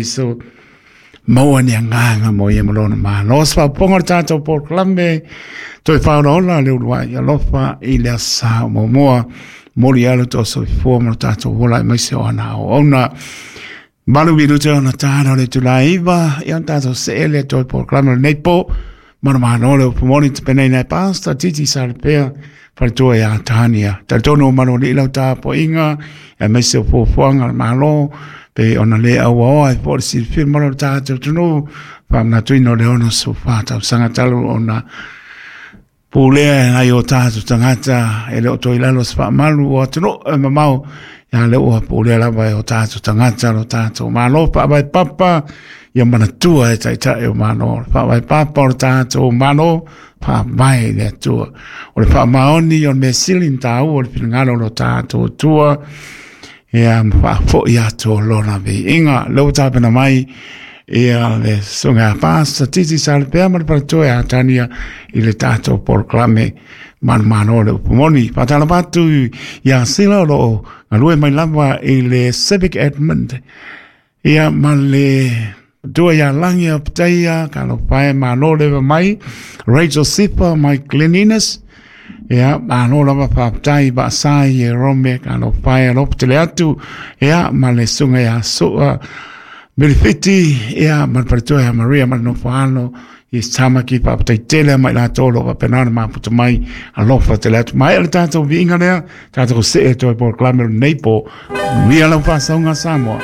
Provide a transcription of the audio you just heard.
So maua ni agaga mo ia ma lona Malo. Se faapopoga o le tatou polokalame toe faaolaola le uluai alofa i le aso Sa o muamua, momoli ai lo outou soifua ma lo tatou ola aemaise o ana auauna. 8 minute ona tala o le itula 9, ia ona tatou see lea toe polokalame o lenei po. Manumalo le upu moni tapenaina e Pastor Titi Salepea, faletua ia Tania. Talitonu o malualii lau tapuaiga aemaise o fuafuaga a le Malo pe ona le auaoa ai foi le silafia ma lo tatou atunuu, faamanatuina o le 64 tausaga talu ona pulea e nai o tatou tagata e le o toe i lalo o se faamalu o atunuu e mamao, ia le ua pulea lava e o tatou tagata lo tatou Malo faavae papa. Ia manatua e taitai o Malo, le faavae papa o le tatou Malo faavae i le Atua, o le faamaoni, o le mea sili na taua o le finagalo o lo tatou Atua, ia ma faafoi atu o lona viiga. Lea ua tapena mai ia le susuga a Pastor Titi Salepea ma le faletua ia Tania i le tatou polokalame Manumalo le upu moni. Faatalofa atu ia Sila o lo o galue mai lava i le Civic Edmund, ia ma le tua ia Lagi o Pitaia, talofa e, malo leva mai. Rachel Sipa mai Glen Innes, ia malo lava, faafetai. Vaasai e Rome, talofa e, alofa tele atu, ia ma le susuga ia Sua Milifiti, ia ma le faletua ia Maria ma le nofo alo i Tamaki, faafetai tele mai latou o lo o faapena ona mafuta mai, alofa tele atu. Maea le tatou viiga lea, tatou see toe polokalame o lenei po. Manuia lau faasauga, Samoa.